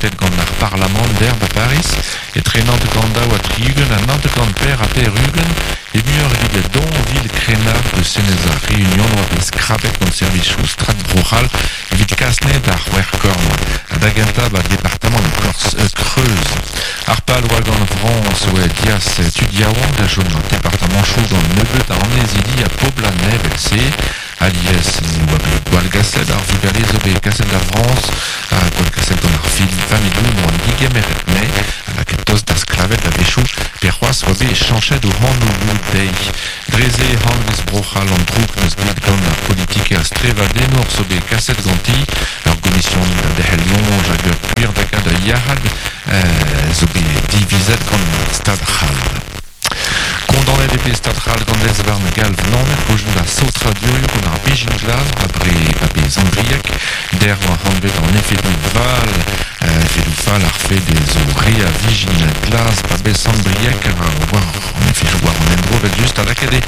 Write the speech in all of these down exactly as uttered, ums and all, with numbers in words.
votet gant ar Parlamant der ba Paris, etre nant daou ha tri-ugent ha nant gant per ha per-ugent, e muioc'h evit don vil krennard de Senez ar Réunion oa bet skrabet gant servijoù Strat Bro-C'hall evit kasne d'ar c'hwec'h korn ha da gentañ ba departamant Corse euh, Creuse. Ar pal oa gant Frañs oa dias tud yaouank da chom an departamant chou gant nebeut a annezidi ha pobl an evel-se. Alies ne oa bet gwallgaset ar vugale zo bet kaset da Frañs ha gwallgaset gant ar fil familhoù n'oant digemeret ne ha lakaet tost da sklavet da wechoù pe c'hoazh oa bet chañchet o anvioù dezhi. Dre-se hanvez Bro-C'hall an droug n'eus bet gant ar politiker strevadenour zo bet kaset ganti ur gomision da derc'hel soñj hag ur gwir da gad yac'had euh, zo bet divizet gant Stad C'hall. Kondaonet eo bet Stad C'hall gant lez-varn galv Naoned gojen da saotradurioù gant ar bezhin glas ba bre ba be Sant-Brieg der oa hanvet an efedoù val euh, efedoù fall ar fed e zo re a vijin glas ba be Sant-Brieg war an efedoù war an endro vel just a lakaet eo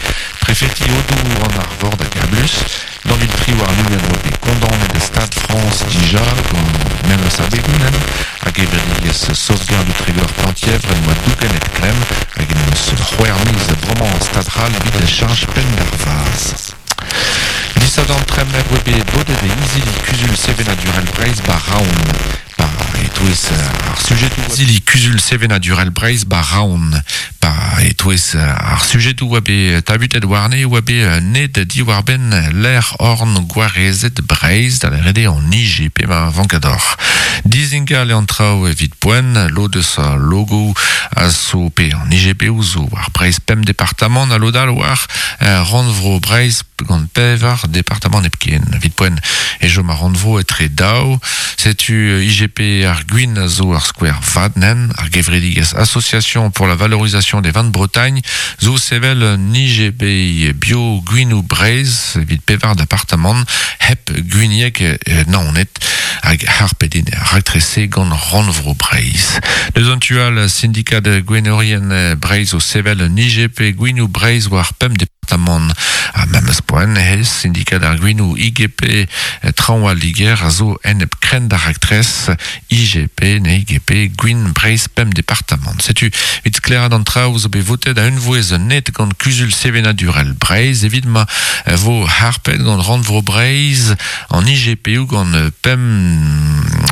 prefeti Odour an Arvor da gablus. Daou vil tri warn-ugent oa bet kondaonet Stad Frañs dija gant memes abegoù hag gevredigezh Sauvegarde du Trégor Penthièvre en oa dougenet klemm hag en eus c'hwec'h miz bremañ Stad C'hall evit cheñch penn d'ar vazh. Disadorn tremenet oa bet bodet e izili kuzul sevenadurel Breizh ba Raon. Ba e-touez ar sujedoù izili kuzul sevenadurel Breizh ba Raon. Ba e-touez ar sujedoù oa bet tabutet warne oa bet ned diwar-benn lec'h orn gwarezet Breizh da lâret eo an I G P ma vankador. Dizingal eo an traoù evit poent, lod eus al logo a zo pe an I G P zo war Breizh pemp departamant ha lod all war rannvro Breizh gant pevar departamant hepken. Evit poent e chom ar rannvro etre daou, setu I G P ar gwin a zo ar skouer vat nen, ar gevredigezh Association pour la valorisation des vins de Bretagne zo sevel un I G P bio gwinoù Breizh evit pevar departamant hep gwinieg eh, Naoned hag harpet eo ar raktres-se gant rannvro Breizh. Deus an tu all sindikad gwenaerien Breizh o sevel un I G P gwinoù Breizh war pemp departamant ha memes poent he sindikad ar gwinoù I G P Traoñ al Liger a zo enep krenn d'ar raktres I G P ne I G P gwin Breizh pemp departamant. Setu evit sklaeraat an traoù zo bet votet a unvouezh net gant kuzul sevenadurel Breizh evit ma vo harpet gant rannvro Breizh an I G P ou gant pemp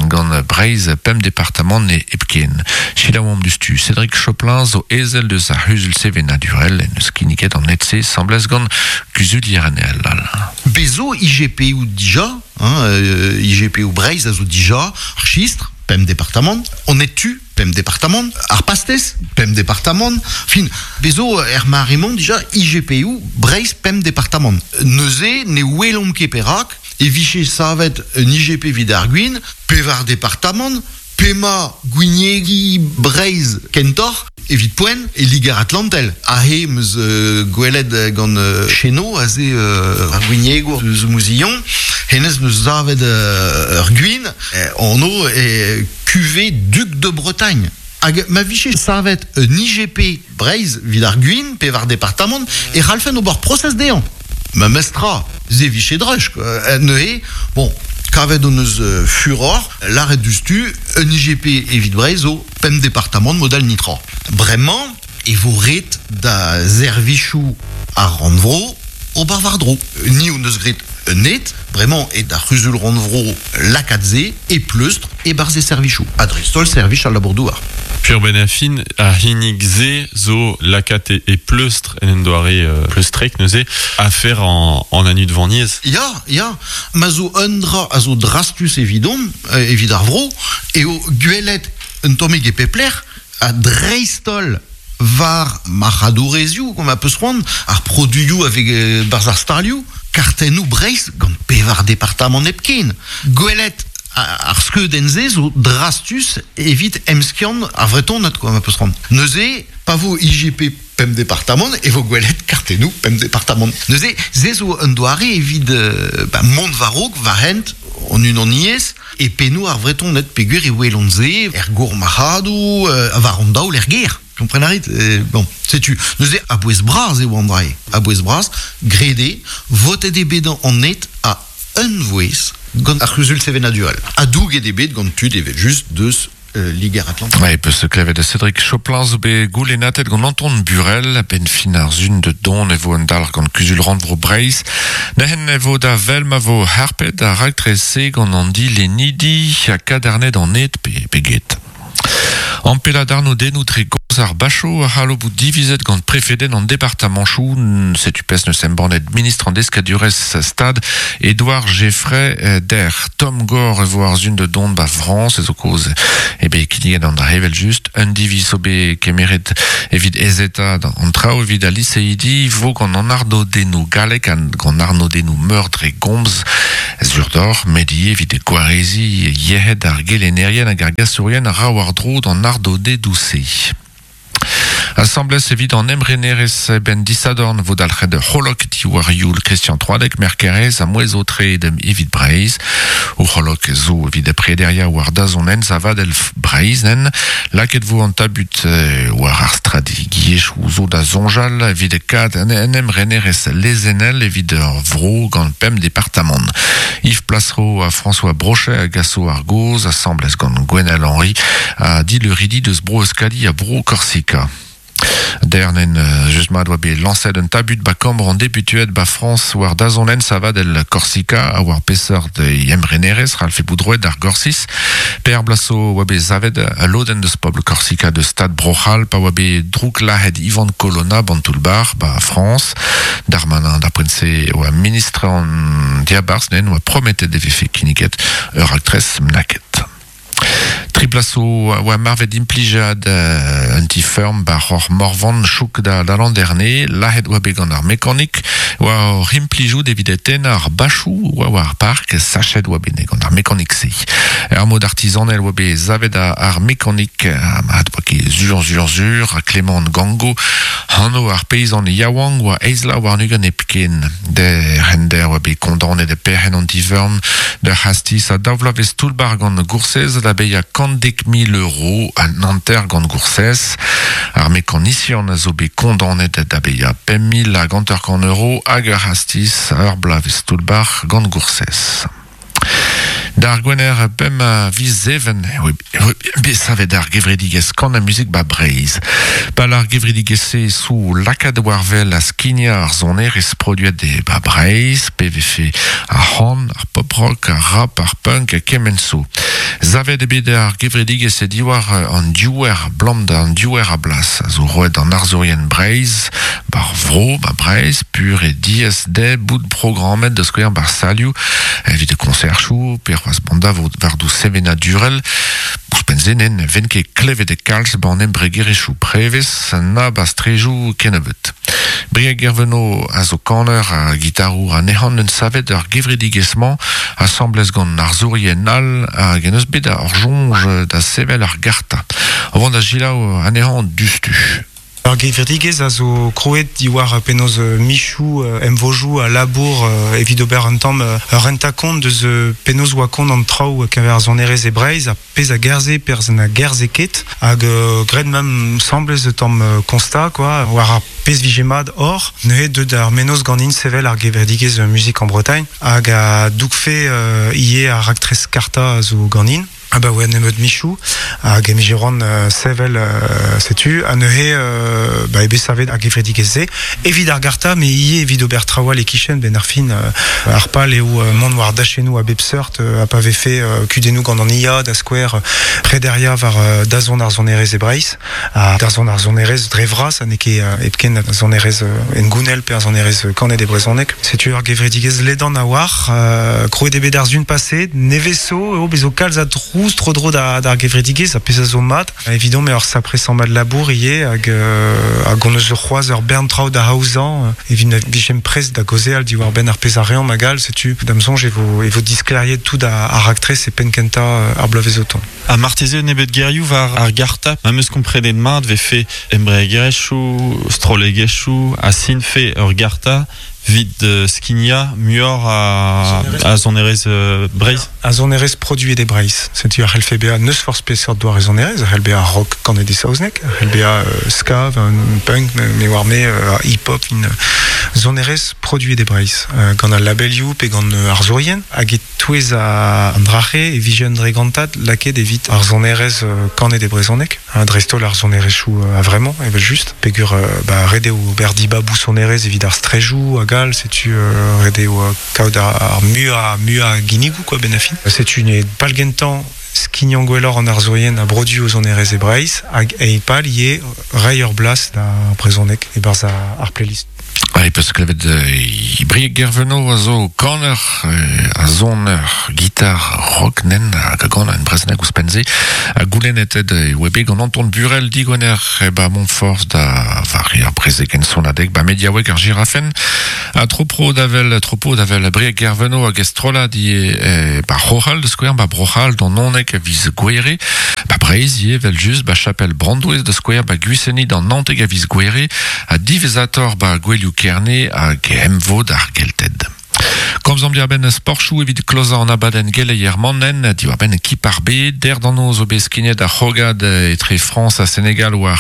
gant Breizh pemp departamant ne hepken. Selaouomp diouzhtu Cédric Choplin zo ezel deus ar c'huzul sevenadurel en eus kinniget an net-se asambles gant kuzulierien all. Bezo I G P ou dija, hein, euh, I G P ou Breizh a zo dija, ar chistr, pemp departamant, on est tu, pemp departamant, ar pastez, pemp departamant, fin, bezo er mare-mañ dija I G P ou Breizh pemp departamant. Neuze ne welomp ket perak, e vije savet un I G P evit ar gwin, pevar departamant, pema gwiniegi Breizh kentoc'h, evit poent e Liger Atlantel. Ahe meus euh, gwelet gant euh, Cheno, aze euh, ar gwiniegour eus Mouzillon, hennezh neus savet euh, ur gwin, eh, anv e cuvée Duc de Bretagne. Hag ma vije savet un I G P Breizh evit ar gwin, pevar departamant, e c'hallfen ober prosez dezhañ. Memestra, se vije droch, quoi. Neuze, bon, kavet hon eus euh, furor, lâret diouzhtu, un I G P evit Breizh zo pemp departamant modal nitra. Bremañ, e vo ret da servijoù ar rannvro ober war-dro. Ni hon eus graet un het, bremañ e da c'huzul rannvro lakaat se e pleustr e-barzh e servijoù. Ha dreist-holl servij al labour-douar. Pur ben a fin a hinnig ze zo lakaat e, e pleustr en en doare euh, pleustrek neuze a fer en, en anu de vaniez. Ya, ya, ma zo un dra a zo drastus evidon, euh, evit ar vro, eo gwelet un tammig e pep lec'h ha dreist-holl war marc'hadourezioù, kom a peus c'hoant, ar produioù avec euh, barzh ar stalioù, kartennoù Breizh gant pevar departamant hepken. Gwelet ar skeudenn-se zo drastus evit emskiant ar Vretoned, quoi, ma peus c'hoant. Neuze, pa vo I G P pemp departamant, e vo gwelet kartennoù pemp departamant. Neuze, se zo un doare evit euh, ba, mont war-raok, war hent, an unaniezh, e pennoù ar Vretoned peogwir e welont se, er gourmarc'hadoù, euh, war an daol er gêr. Kompren a rit? Euh, bon, setu. Neuze, a-bouez bras eo an dra-se. A-bouez bras, graet eo, votet eo bet an net a unvouezh. gant ar c'huzul sevenadurel. A douget ebet gant tud evel just deus euh, Liger Atlantique. Ouais, peus se klevet de Cédric Choplin zo bet goulennatet gant Anton Burel, ben fin ar zun de don e vo an dalc'h gant kuzul rannvro Breizh. Nehen e vo da vel ma vo harpet a raktrese gant an di lenidi a kadarnet an et pe, pe get. An pela darno denou dre goz ar bacho a c'hallo bout divizet gant prefeden an departamanchou, setu pes neus embannet ministre an deskadurez stad Édouard Geffray der Tom Gore e vo ar zun de don ba Frans ez o koz ebe kinniget an da hevel just un diviz o be kemeret evit ezeta an trao evit a liseidi vo gant an arno denou galek an gant arno denou meur dre gomz zurdor medi evit gwarezi yehed ar gelenerien hag ar gasourien a ra war dro d'an ardo de douce. Assemblez evit an emrenerez ben disadorn vo dalc'het c'holok diwar youl Christian Troadec merkerez a mouez o tre dem evit Breizh. O c'holok zo evit prederia war dazonen zavad elf Breizh nen. Laket vo an tabut war ar strategiezhioù zo da zonjal evit kad en emrenerez lezenel evit ur vro gant pemp departamant. Yves Plassero a François Brochet a gaso ar goz, assemblez gant Gwenel Henry a di le ridi deus bro Euskadi a bro Korsika. Dernen just mat oa bet lañset un tabut ba kambr an deputuet ba France war dazonen savad el Korsika a war peseurt emrenerez ralfe boudroet ar Gorsis. Per blaso oa bet zavet a lodenn deus pobl Korsika de stad Brochal pa oa bet drouk lahet Ivan Colonna bantoulbar ba France. Darmanin da prense oa ministre an diabarz nen oa prometet de vefe kinniget ur aktres mnaket. Triplaso oa marvet implijad euh, un ti ferm bar hor morvan chouk da, da l'an dernier, lahet oa bet gant ar mekanik, oa hor implijout evit eten ar bachou oa war park, sachet oa bet gant ar mekanik se. Er mod artisanel oa bet zavet ar, ar mekanik, a mat oa ket zur zur zur, a Clément Gango, hano ar paysan yaouank oa eizla war nugan epken. De render oa bet kondanet de perc'henn an ti ferm, de hastis a daouvlavez toulbar gant goursez da beia kant dek mil euro a nanter gant goursez. Ar mekanisian a zo bet kondanet da beia pemp mil hag hanter kant euro hag ur hastis ur blavez toulbar gant goursez. D'ar gwener pemp a viz even, bet savet ar gevredigez kan a muzik ba Breizh. Pal ar gevredigez-se sou lakad war vel a skinia ar zonerez produet de ba Breizh, P V F ar c'han, ar pop rock, ar rap, ar punk, kement so. Zavet ebet ar gevredigez e diwar an diouer blam da an diouer a blas, a zo roet an arzourien Breizh, bar vro, ba Breizh, pur e diez de bout programmet da skouer bar salioù, evit konserchoù, pe c'hoaz banda vo war dou sevenadurel, ouzhpenn-se nen ven ket klevet e kalz ban embregerezhioù prevez na bastrejou kennebeut. Brieg Gerveno a zo kaner a gitarour a nehan un savet ur gevredigezh-mañ asamblez gant arzourien all hag en eus bet ar soñj da sevel ar garta. O vont da gilaou anezhañ dustu. Ar gevredigezh a zo kroet diwar penaos michou emvojou a labour evit ober un tamm ur renta-kont deus penaos oa kont an traoù keñver ar sonerezh e Breizh a pezh a gerze perzh a gerze ket hag graet mem semblez tamm constat quoi war ar pezh vije mat hor neuze deut ar menoz ganin sevel ar gevredigezh Musique en Bretagne hag a dougfe ivez ar raktres karta a zo ganin. Ah bah ouais, nemeut michou, hag emijeron euh, sevel euh, setu, a neuze euh, bah ebe savet ar gevredigezh-se, evit ar garta, me ivez evit ober traoù e kichen ben ar fin euh, ar pal eo euh, mont war dachenou a bep seurt euh, a pa vefe euh, kudennoù gant an I A da skouer euh, prederia war euh, dazont ar sonerezh e Breizh, ha dazont ar sonerezh dre vras, ha n'eo ket euh, hepken ar sonerezh euh, en gounel pe ar sonerezh kanet e brezhoneg. Setu ar gevredigezh ledan a war, euh, kroet eo bet ar zun paset, neveso, eo bezo kalz a trouz tro dro da, d'ar gevredigezh a pezh a zo mat. Evidon me ur sapre sammad labour ivez hag, euh, hag on eus ur c'hoazh ur bern traoù da aozañ, euh, evit na vijem prest da gaozeal diwar benn ar pezh a reomp hag all, setu da'm soñj e vo, e vo diskleriet tout a, ar raktres e penn kentañ, euh, ar bloavezh o tont. A marteze nebet gerioù war ar garta, ma meus komprenet mat vefe embregerezhioù, strollegezhioù, a sinfe ur garta vid euh, skinia muioc'h a, a sonerezh euh, Breizh. A sonerezh produet e Breizh. Setu ar c'hellfe bezañ neus forzh peseurt doare sonerezh, ar c'hell bezañ rock kanet e saozneg, ar c'hell bezañ euh, ska, un punk, me, me war me, euh, hip-hop, in, Sonerez produet e Breizh euh, gant al labelioù pe gant euh, ar zourien hag e touez a an drache e vije un dregantad laket evit ar sonerez euh, kanet e brezhoneg hein, dreist-holl ar sonerezioù euh, a vraiment evel just pegur euh, ba ret eo ober dibabou sonerez evit ar strejoù hag all setu euh, ret eo euh, kaout ar, ar mu a mu a ginigou quoi ben a fin setu ne pal gentan skignan gwelloc'h an arzourien a brodu o sonerez e Breizh hag e pal ie rei ur blas da brezhoneg e barzh ar playlist. Ah, peus klevet euh, Brieg Gerveno a zo kaner euh, a zoner gitar rock nen hag a gant en brezhoneg ouzhpenn-se a goulennet e oa bet gant Anton Burel digoner e ba Montfort da vari ar brezegen sonadeg ba mediaoueg ar girafen a tropro d'avel tropo d'avel Brieg Gerveno hag estrola di e, ba Rochal de skouer ba Brochal d'an onek a viz gouere ba Breizh ie vel just ba Chapelle Brandouez de skouer ba Guiseni d'an Nanteg a viz gouere a divezator ba Gwelioù Kerne hag emvod ar Gelted. Komzomp diar-benn sportchou evit klozañ an abadenn geleier mannen, diwar-benn kip ar bed, der d'an noz o bet skinet ar c'hogad etre France ha Senegal war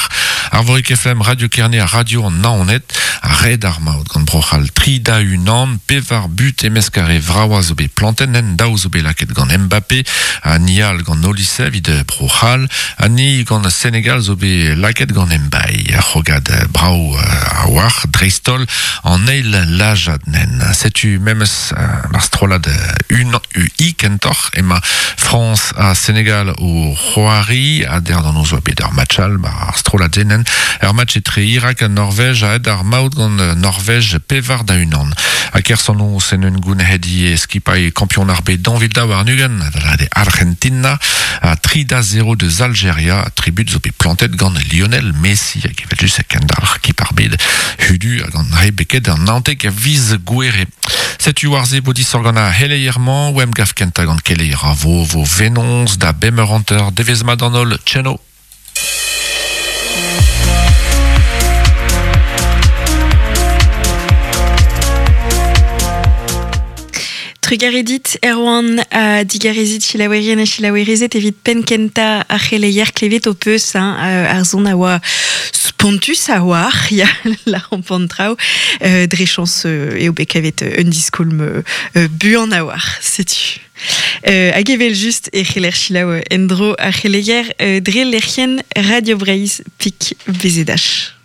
Arvorik F M, Radio Kerne ha Radio an Naoned, a red ar maout gant Brochal tri da unan, pevar but emeskare vraoa zo bet planten, en daou zo bet laket gant Mbappé, ha nial gant Olise evit Brochal, ha ni gant Senegal zo bet laket gant Mbaye, ar c'hogad brao a war, dreistol an eil lajad nen. Setu memes ar strollad un U I kentoc'h ema France ha Senegal o c'hoari a der d'an ozo bet ar match all ba ar strollad zenen ar match etre Irak ha Norvège a ed ar maout gant Norvège pevar da unan a kerson o sen un goun hedi skipai kampion ar bet danvil daou ar nugen da de Argentina a tri da zero deus Algeria tribut zo bet plantet gant Lionel Messi hag evel just kendalc'h kip ar bet hudu hag an re beket an nanteg a viz gouere. Setu war ze bodisor gant a heleierman, oem gaf kenta gant keleier a vo vo venons da bemeur hanter devez mat an holl, tcheno. Trugaredit Erwan a digarezit chilaouerien a chilaouerezet evit penkenta ar c'heleier klevet o peus hein, ar zon a oa spontus a oar, ya la rampant traoù, euh, dre chans euh, eo bet kavet un diskoulm euh, buan a oar, setu. Euh, hag evel just e c'heller chilaou endro ar c'heleier euh, dre lec'hien Radio Breizh pik B Z H.